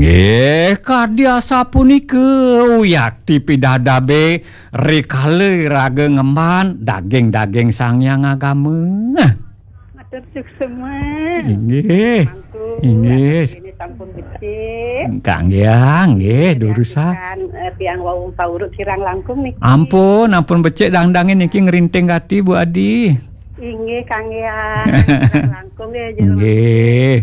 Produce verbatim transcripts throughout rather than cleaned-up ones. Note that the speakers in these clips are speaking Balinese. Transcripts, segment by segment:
Eh, kadi asapunika, uyati pidadabe rikala raga ngemban daging-daging Sang Hyang Agama. Matur suksma. Inggih. Mangku, inggih. Ini sampun becik. Kangge, nggih, durusah. Tiang, eh, tiang wau pauruk kirang langkung niki. Ampun, ampun becik dangdange niki ngrinting gati, Bu Adi. Inggih, kangge. Kirang langkung nggih, Jero. Inggih.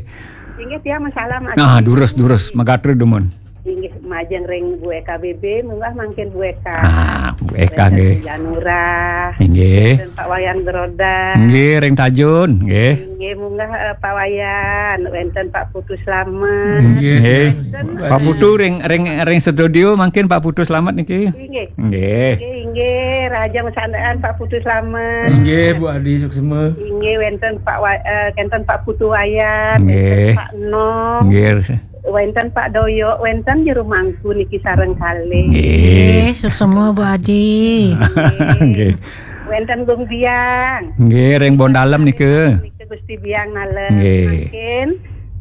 Inggih, tiang masalam. Nah, durus, durus, matur dumun. Inggih, majeng ring Bu Eka B B, munggah mangkin Bu Eka. Ah, Bu Eka, wenten nggih. Bu Janura. Inggih. Wenten Pak Wayan Geroda. Nggih, ring Tajun, nggih. Inggih, munggah, eh, Pak Wayan, wenten Pak Putu Slamet. Nggih. Nggih. Wenten, Pak Putu ring, ring, ring studio mangkin Pak Putu Slamet niki. Inggih. Nggih. Inggih, inggih, rahajeng sandaan Pak Putu Slamet. Inggih, Bu Adi suksma. Inggih, wenten Pak Wa-, eh, wenten Pak Putu Wayan, nggih. Wenten Pak Nom. Nggih. Wenten Pak Doyok, wenten Jero Mangku niki sareng kalih. Nggih. Nggih, suksma Bu Adi. Nggih. Wenten Gung Biang. Nggih, ring Bondalem nika. Nika Gusti Biang Nalem. Nggih. Mangkin,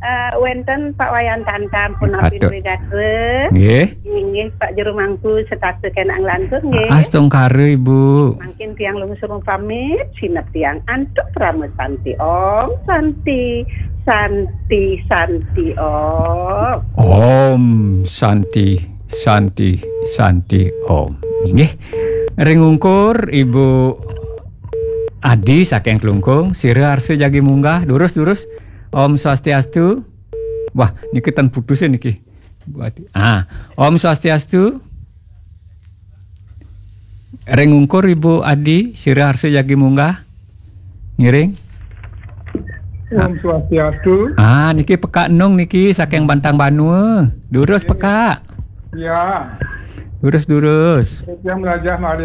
eh, wenten Pak Wayan Tantam punapi. Patut. Duwe gatra. Nggih. Inggih Pak Jero Mangku setata kena nglantur nggih. Astungkara, Ibu. Mangkin tiang lungsur pamit, sineb tiang antuk parama santi. Om Santi, Santi, Santi Om. Om Santi, Santi, Santi Om. Inggih. Ring ungkur Ibu Adi saking Klungkung, sira arsa jagi munggah, durus, durus. Om Swastiastu. Wah, niki ten putusin niki. Bu Adi. Ah, Om Swastiastu. Ring ungkur Ibu Adi, sira arsa jagi munggah. Ngiring. Om Swastiastu. Ah, niki Pekak Nung niki saking Bantang Banua. Durus Pekak. Ya. Durus, durus. Tiang melajah malih.